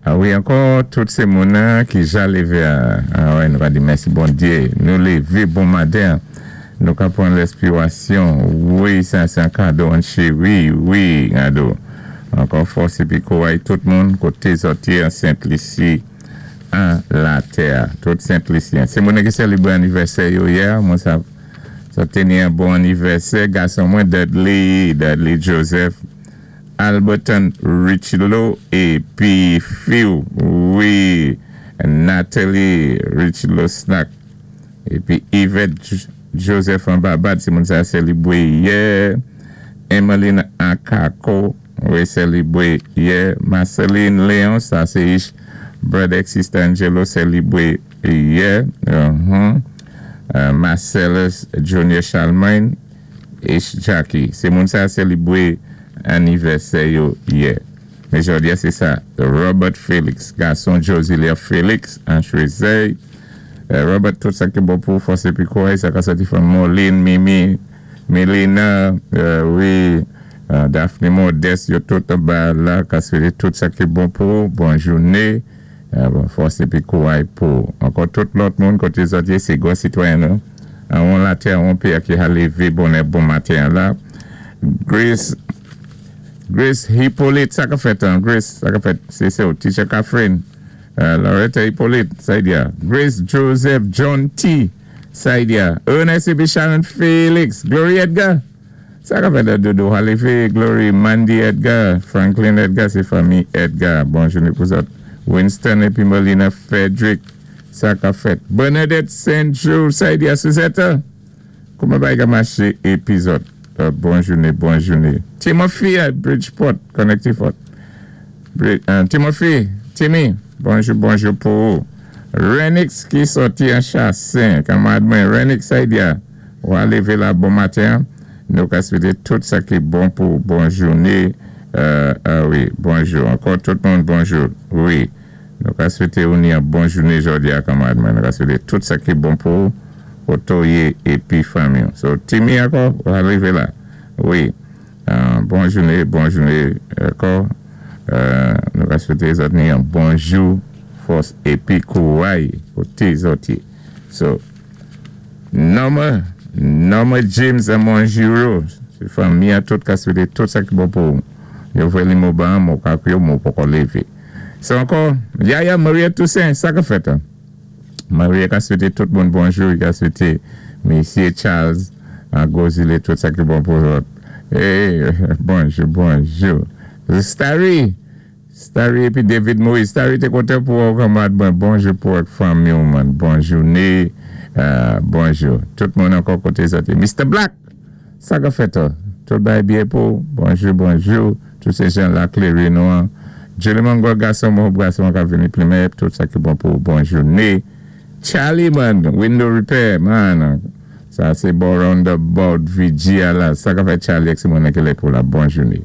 A wi, ankò tout sé moun ki ja lévé. A wè, nou va di mèsi Bondyé. Nou lévé bon maten. Nou ka pwan lèspirasyon. Wi, sa sé an kado an chéri. Wi, kado. Ankò fòs épi kouray tout moun koté zòt yé an Sent Lisi an latè. Tout Sent Lisyen. Sé moun ki sélébwé anivèsè yo yè, mwen sa sa téni an bon anivèsè gason mwen Dudley, Dudley Joseph. Alberton Richelo épi fi-w, wi, Nathalie Richelo Snack épi Yvette Joseph an Babad, sé moun sa sélibwé yè. Emmeline Akako, wi, sélibwé yè. Marceline Léon, sa sé ich brother sister Angelo, sélibwé yè. Marcellus Junior Charlemagne ich Jackie, sé moun sa sélibwé anivèsè yo yè. Men jòdi a sé sa, Robert Félix, gason Josilia Félix, an Choisey. Robert, tout sa ki bon pou fòs épi kouray, sa ka sòti fanmi Moline, Mimi, Melina, wi, Daphne Modeste, yo tout anba la, ka swété tout sa ki bon pou, bon jouné, bon fòs épi kouray pou. Ankò tout lòt moun koté zòt yé, sé gwo sitwayen nou. An latè, an péyi ki a lévé bonè bon maten la. Grace Grace Hippolyte, sa ka fèt, an? Grace, sa ka fèt, sé sa, Teacher Catherine, Loretta Hippolyte, sa y a. Grace Joseph John T, sa y a. Ernest épi Sharon Félix, Glory Edgar, sa ka fèt, Dodo Halife, Glory, Mandy Edgar, Franklin Edgar, sé fanmi Edgar. Bon jouné pou zòt. Winston épi Melina Frederick, sa ka fèt. Bernadette St. Jules, sa y a, Suzette, kouman bagay ka maché épi zòt? Bon jouné, bon jouné. Timothy at Bridgeport, Connecticut. Timothy, Timmy, bonjou, bonjou pou ou. Renix ki sòti an Chassin, kanmarad mwen, Renix Saidia, ou a lévé la bon maten. Nou ka swété tout sa ki bon pou bon jouné. Wi, bonjou. Ankò tout moun bonjou. Wi. Nou ka swété ou ni an bon jouné jòdi a, kanmarad mwen. Nou ka swété tout sa ki bon pou koto yé épi fanmi. So, Timmy ankò, ou a rivé la. Wi. Bon jouné, bon jouné ankò. Nou ka swété zòt ni an bonjou, fòs épi kouray koté zòt yé. So, Norma, Norma James an Monjuro, sé fanmi an tout ka swété tout sa ki bon pou yo vwé li mo ban mo ka yo mo poko lévé. So ankò, Yaya Maria Toussaint, sa ka fèt an? Maria ka swété tout moun bonjou, ka swété Mesye Charles an Gozile tout sa ki bon pou zòt. Eh, bonjou, bonjou. Starry, Starry épi David Moïse. Starry té kontan pou ou kanmarad mwen. Bonjou pou ak fanmi ou man. Bon jouné. Bonjou. Tout moun ankò koté zòt. Mr. Black, sa ka fèt an? Tout bagay byen pou. Bonjou, bonjou. Tout sé jan la kléri nou an. Julie Mongo, gason mwen, gason ka vini plimen, tout sa ki bon pou bon jouné. Charlie man, window repair man. Sa sé bon roundabout VG la. Sa ka fèt Charlie ak sé moun ki pou la bon jouné.